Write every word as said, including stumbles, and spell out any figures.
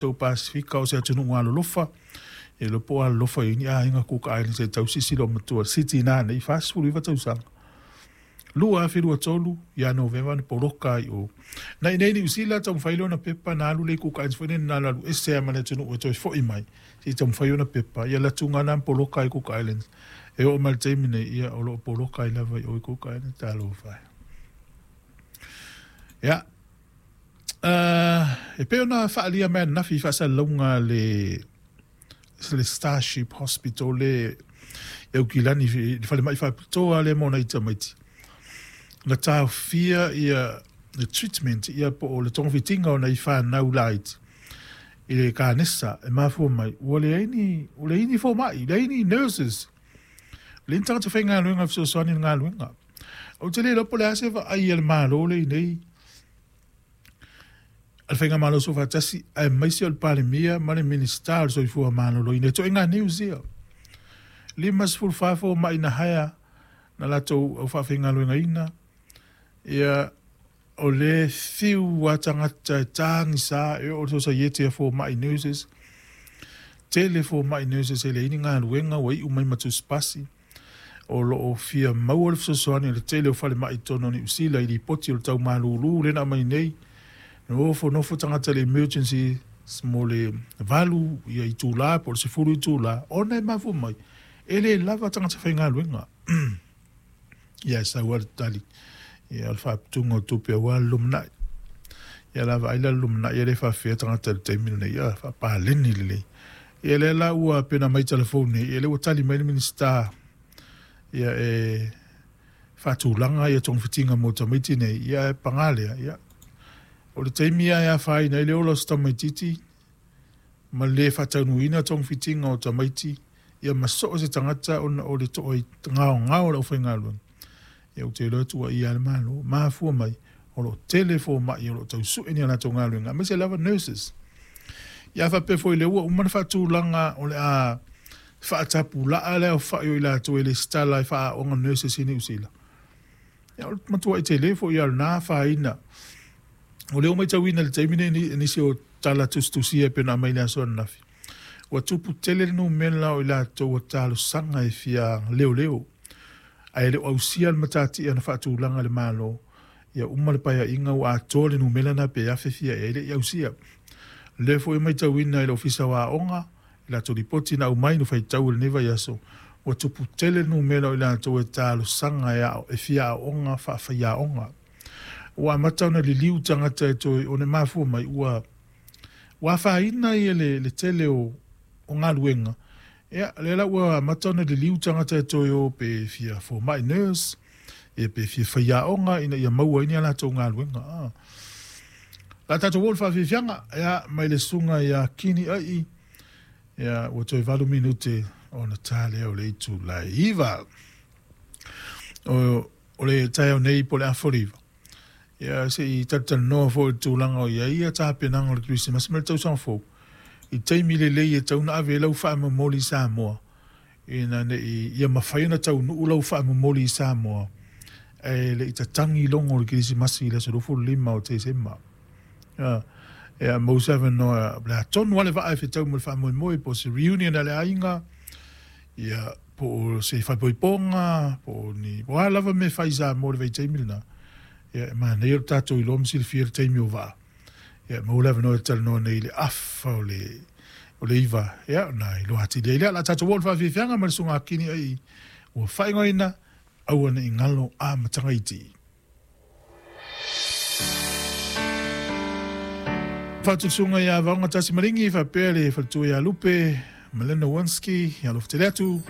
Tou Pasifika o se atunuu alolofa, e iloa po o alolofa i ai ni aiga Cook Islands e tausisi lou matua Siti na nei fasefulu iva tausaga. Lua afe lua tolu ia Novema na poloka ai o. Na i nei Niu Sila taumafai lea ona pepa na alu lea i Cook Islands foi lea na alu ese ai ma le atunuu e toe fo'i mai se i taumafai ona pepa. Ia alu atuga na poloka ai Cook Islands. E oo mai le taimi nei ia o loo poloka ai lava i o i Cook Islands talofa ai. Ia uh, e pei ona faaalia mai ananafi i faasalalauga le le Starship Hospital le e Aukilani le falemai faapitoa lea mo nai tamaiti na taofia ia le treatment ia po o le togafitiga o nai fanau laiti i le kanesa e mafua mai ua leai ni ua leai ni foma'i, leai ni nurses, leai ni tagata faigaluega e fesoasoani i le galuega. Ou te le iloa po o le a se vaai a le Malo lenei a le Faigamalo Soofaatasi aemaise o le Palemia ma le Minisita o le Soifua Maloloina e toaiga news ia. Lima sefulu fa foma'i na hire na latou au faafaigaluegaina ia o le fiu a tagata e tagisa e oo le sosaiete a foma'i nurses tele foma'i nurses e leai ni galuega ua iu mai ma tusipasi o loo fia maua le fesoasoani o le tele o falemai totonu o Niu Sila i lipoti o le taumalūlū lea na aumai nei nofonofo tagata le emergency mo le valu ia itulā po o le sefulu itulā ona e mafua mai e lē lava tagata faigaluega. Ia e sau a le tali ia o le faaputuga o tupe auā le lumanai. Ia la vaai la le lumanai e le faafefea tagata i le taimi lenei ia faapaleni lelei. Ia lea la ua pena mai telefoni nei ia lea ua tali mai le Minisita ia e faatulaga ia togafitiga mo tamaiti nei ia e pagā lea ia o le taimi a e afaina ai le ola o se tamaititi ma le faataunuuina togafitiga o tamaiti ia ma soo se tagata ona o le to'a gaogao o le aufaigaluega ia ou te iloa tuuaia le Malo mafua mai o loo tele foma'i o loo tausu'e ni a latou galuega aemaise lava nurses. Ia faapea foi lea ua uma na faatulaga o le a faatapulaa le aofa'i o i latou e lesitala e faaaoga nurses i Niu Sila. Ia o le matua'i tele foi a lena afaina o lea ua matauina i le taimi nei nisi o tala tusitusia e pei ona aumai i le aso ananafi ua tupu tele le numera o i latou ua talosaga e fia leoleo ae le o ausia le matatia na faatulaga e le Malo ia uma le paeaiga ua atoa le numera na pe afe fia ea e le i ausia. Lea foi e matauina i le Ofisa o Aoga i latou lipoti na aumai no faitau i lenei vaiaso ua tupu tele le numera o i latou e talosaga e, ao, e fia aoga faafaiaoga ua amata ona liliu tagata e toe ona mafua mai ua ua afaina ia le, le tele o, o galuega. Ia lea la ua amata ona liliu tagata e toe o pe fia foma'i nurse ia pe fia faiaoga ina ia maua ai ni a latou galuega. Ah. La tatou o le faafiafiaga ia mai le susuga ia Kini ai ia ua toe valu minute ona ta lea o le itulai iva o, o le taeao nei po o le afa iva ia se i talatalanoa foi i le tulaga o i ai ia tapenaga o le Kerisimasi ma le tausaga fou i taimi lelei e tau na ave ai lau faamomoli i Samoa ina nei ia mafai ona taunuu lau faamomoli i Samoa e le i tatagi logo o le Kerisimasi i le aso lima o Tesema. Ia, ia mau se avanoa le atonu ale vaa e fetau mo le faamoemoe po o se reunion a le aiga ia po o se faaipoipoga po o ni po o a lava mea e fai i Samoa i le vaitaimi lena. Ia e manaia lo tatou iloa ma silafia le taimi o vaa. Ia maua le avanoa e talanoa nei i le afa o le o le iva ia na iloa atili ai lea la tatou oo i le faafiafiaga ma le susuga Kini ai ua faaigoaina aua ne i galo amataga iti. Faatusuga ia Vaoga Tasi Maligi faapea le faletua ia Lupe Melina Winski ia alofa tele atu.